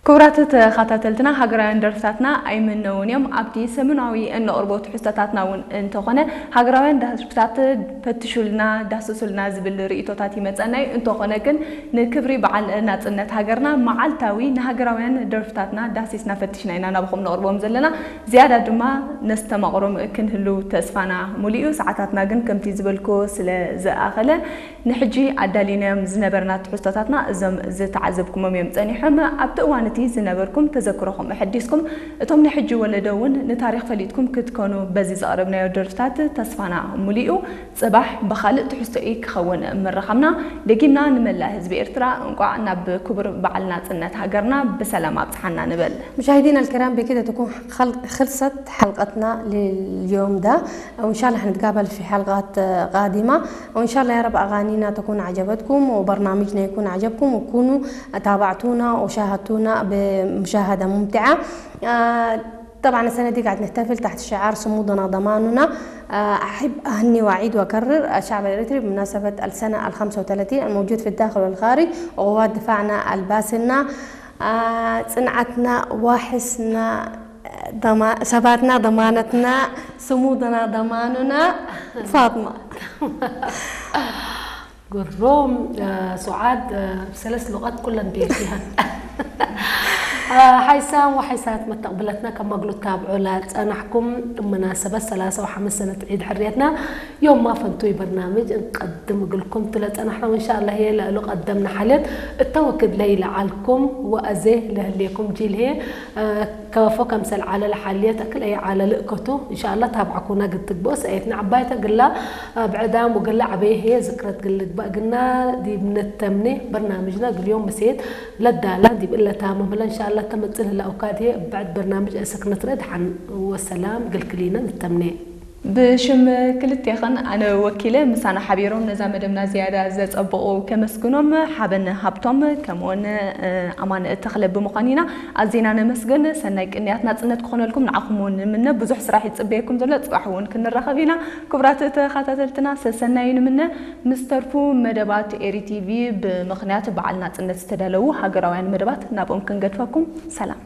ክቡራት ተኸታተልትና፣ ሃገራውያን ደርፍታትና ኣይምነውን እዮም። ኣብቲ ሰሙናዊ እነቕርቦ ትሕዝቶታትና እውን እንተኾነ፣ ሃገራውያን ደርፍታት ፈትሹልና፣ ዳስሱልና ዝብል ርእይቶታት ይመጸና እዩ። እንተኾነ ግን፣ ንክብሪ በዓል ናጽነት ሃገርና፣ መዓልታዊ ንሃገራውያን ደርፍታትና ዳሲስና ፈቲሽና ኢና ናባኹም ነቕርቦም ዘለና። ዝያዳ ድማ ነስተማቕሮም ክንህሉ ተስፋና ሙሉእ እዩ። ሰዓታትና ግን ከምቲ ዝበልኩ ስለ ዝኣኸለ፣ ንሕጂ ኣዳሊናዮም ዝነበርና ትሕዝቶታትና እዞም ዝተዓዘብኩሞም እዮም ጸኒሖም። ኣብቲ እዋን እቲ ዝነበርኩም ተዘክሮኹም ኣሐዲስኩም፣ እቶም ናይ ሕጂ ወለዶ እውን ንታሪኽ ፈሊጥኩም ክትኮኑ በዚ ዘቕረብናዮ ደርፍታት ተስፋና ሙሉእ እዩ። ጽባሕ ብኻልእ ትሕዝቶ እዩ ክኸውን ምርኻብና። ደጊምና ንመላእ ህዝቢ ኤርትራ እንቋዕ ናብ ክቡር በዓል ናጽነት ሃገርና ብሰላም ኣብጽሓና ንበል። مشاهدينا الكرام، بكده تكون خل- خلصت حلقتنا لليوم ده. وإن شاء الله حنتقابل في حلقات، آه، قادمة. وإن شاء الله يا رب أغانينا تكون عجبتكم وبرنامجنا يكون عجبكم، وكونوا تابعتونا وشاهدتونا بمشاهدة ممتعة. آه، طبعا السنة دي قاعد نحتفل تحت شعار صمودنا ضماننا. آه، أحب أهني وأعيد وأكرر الشعب الإريتري بمناسبة السنة ال خمسة وثلاثين الموجود في الداخل والخارج، وقوات دفاعنا الباسلنا، آه، صنعتنا، واحسنا، ضما-، ثباتنا، ضمانتنا، صمودنا ضماننا. فاطمة. ግሩም። ሱዓድ፣ ሰለስተ ሉቓት ኩለን ቤት ይሃን። ሓይሳን ወሓይሳት መተቕብለትና ካብ ማግሎ ታብዑ ላጸናሕኩም ብመናሰበት ሰላሳ ወሓምስ ሰነት ዒድ ሕርየትና ዮም ማፈንቱይ በርናምጅ እንቀድም እግልኩም ትለጸናሕና። ወንሻ ኣላ ህየ ለእሉ ቀደምና ሓልየት እተወክድ ለይለዓልኩም ወኣዜ ለህልየኩም ጂል ህየ ከበፎ ከምሰል ዓለል ሓልየት ኣክል ኣይ ዓለል እከቱ። እንሻ ኣላ ታብዓኩና ግትግብኦ ሰኤትና ዓባይተ ግላ ብዕዳም ወግላ ዓበየ ህየ ዝክረት ግልግባእ ግና ዲብ ንተምኔ በርናምጅና ግልዮም መሰየት ለዳላ ዲብ እለታ መምህላ እንሻ ኣላ ተመጽእ ልላ ኡካድ ህየ እብዕድ በርናምጅ እሰክ ንትረ ድሓን ወሰላም ግልክሊና ንተምኔ። ብሽም ክልቴኽን ኣነ ወኪለ ምሳና ሓቢሮም ነዛ መደብና ዝያዳ ዘጸብቑ ከመስግኖም ሓበን ሃብቶም ከምኡውን ኣማን ተኽለ ብምዃን ኢና ኣዚና ነመስግን። ሰናይ ቅንያት ናጽነት ክኾነልኩም ንዓኹም እውን ንምነ። ብዙሕ ስራሕ ይጽበየኩም ዘሎ፣ ጽባሕ እውን ክንራኸብ ኢና። ክቡራት ተኸታተልትና ሰሰናዩ ንምነ። ምስ ተርፉ መደባት ኤሪ ቲቪ ብምኽንያት በዓል ናጽነት ዝተዳለዉ ሃገራውያን መደባት ናብኦም ክንገድፈኩም። ሰላም።